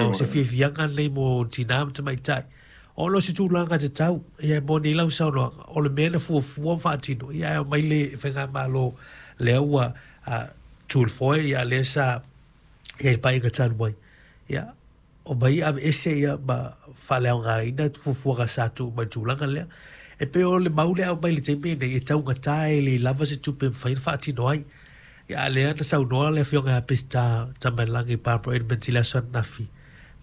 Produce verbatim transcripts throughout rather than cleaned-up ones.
Ona o se fiafiaga lenei mo tinā ma tamaitai. Ona o se tulaga tatau, ia e moni ai lau saunoaga, o le mea na fuafua ma faatino, ia e omai le faigamalo lea ua tu i le foe, ia lea sa i ai le paeaiga talu ai. Ia, omai aveese ia ma faaleaogaina fuafuaga sa tuu mai i le tulaga lea. E pei o le mau lea e aumai i le taimi lenei, e taugata e le lava se tupe e mafai ona faatino ai. Ia, a o lea na saunoa le Afioga ia Peseta Tamailagi Barbara Edmonds i le aso ananafi,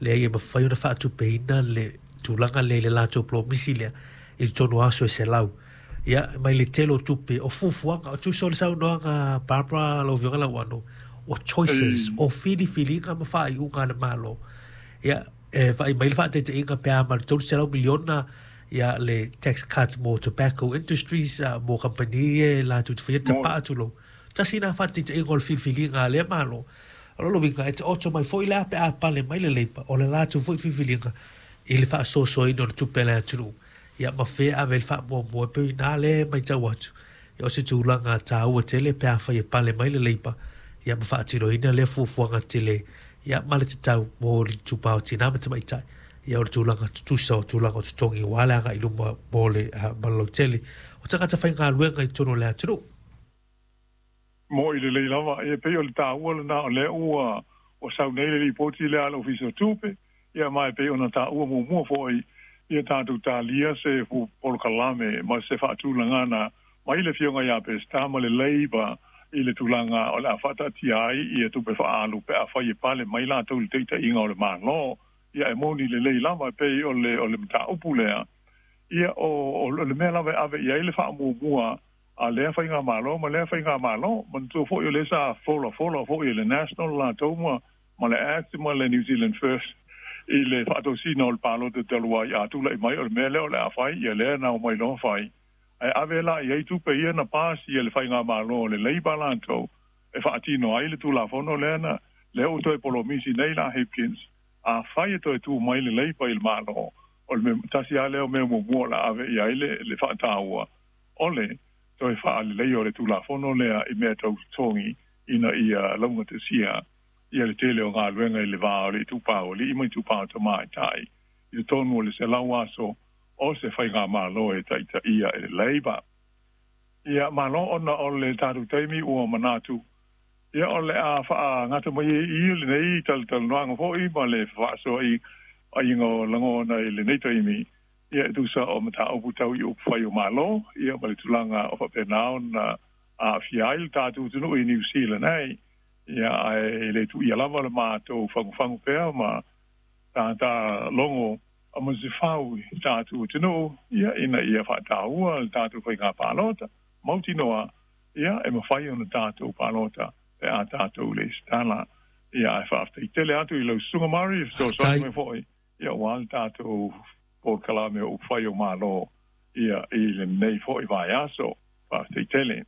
leai e mafai ona faatupeina le tulaga lea i le latou polomisi lea i totonu o aso e selau. Ia, mai le tele o tupe, o fuafuaga, o tusa o le saunoaga a Barbara lau Afioga Lauano, o choices, o filifiliga ma faaiuga a le Malo. Ia, e vaai mai le faataitaiga pe a ma le tolu selau miliona ia le tax cuts mo tobacco industries, mo kamupani ia e latou te faia le tapaa tulou. Tasi lena faataitaiga o le filifiliga a lea Malo. O lona uiga, e taoto mai foi la pe a pale mai le Labour, o le latou foi filifiliga i le faasoasoaina o le tupe a le atunuu, ia ma fea e ave ai le faamuamua. E pei o i ina lea e matau atu, ia o se tulaga taua tele pe afai e pale mai le Labour, ia ma faatinoina lea fuafuaga tele, ia ma le tatau mo le itupa o tinā ma tamaitai, ia o le tulaga tutusa o tulaga o totogi aua le agai i luma mo le ma le lautele o tagata faigaluega i totonu o le atunuu. Mo'i lelei lava, e pei o le taua lena o lea ua ua sau nei le lipoti lea a le Ofisa o Tupe, ia ma e pei ona taua muamua foi, ia tatou talia se polokalame ma se faatulagana mai le Afioga ia Peseta ma le Labour i le tulaga o le a faataatia ai ia tupe faaalu pe afai e pale mai latou i le taitaiga o le Malo. Ia e moni lelei lava e pei o le o le mataupu lea, ia o o le mea lava e ave i ai le faamuamua a lea faigamalo ma lea faigamalo. Manatua foi o lea sa folafola foi e le National latou ma ma le Act ma le New Zealand First i le faatosina o le palota talu ai, a tulai mai o le mea lea o le a fai, ia lea na omai loa fai, ae ave la i ai tupe ia na pasi e le faigamalo o le Labour latou e faatino ai le Tulafono lea na lea ua toe polomisi nei la Hipkins. Afai e toe tu mai le Labour i le Malo, o le mea tasi lava lea o mea muamua o le a ave i ai le le faataua, o le toe faaleleia o le Tulafono lea i mea tau totogi ina ia laugatasia ia le tele o galuega i le va o le itupa o alii ma itupa o tamaitai i totonu o le selau aso o se faigamalo e taitaia e le Labour. Ia, malo ona o le tatou taimi ua manatu, ia o le a faagata mai ai i i lenei talatalanoaga foi ma le fefaasoaaiga o lagona i lenei taimi, ia e tusa o mataupu tau i upufai o Malo, ia ma le tulaga o faapena ona aafia ai le tatou atunuu i Niu Sila nei. Ia, ae le tuia lava le matou fagufagu pea ma tātā logo a ma se fau i tatou atunuu, ia, ina ia faataua le tatou faiga palota mautinoa, ia, e mafai ona tatou palota pe a tatou lesitala. Ia, ae faafetai tele atu i lau Susuga Murray e fesoasoani mai foi, ia, aua le tatou polokalame o upufai o Malo, ia, i lenei foi vaiaso. Faafetai tele.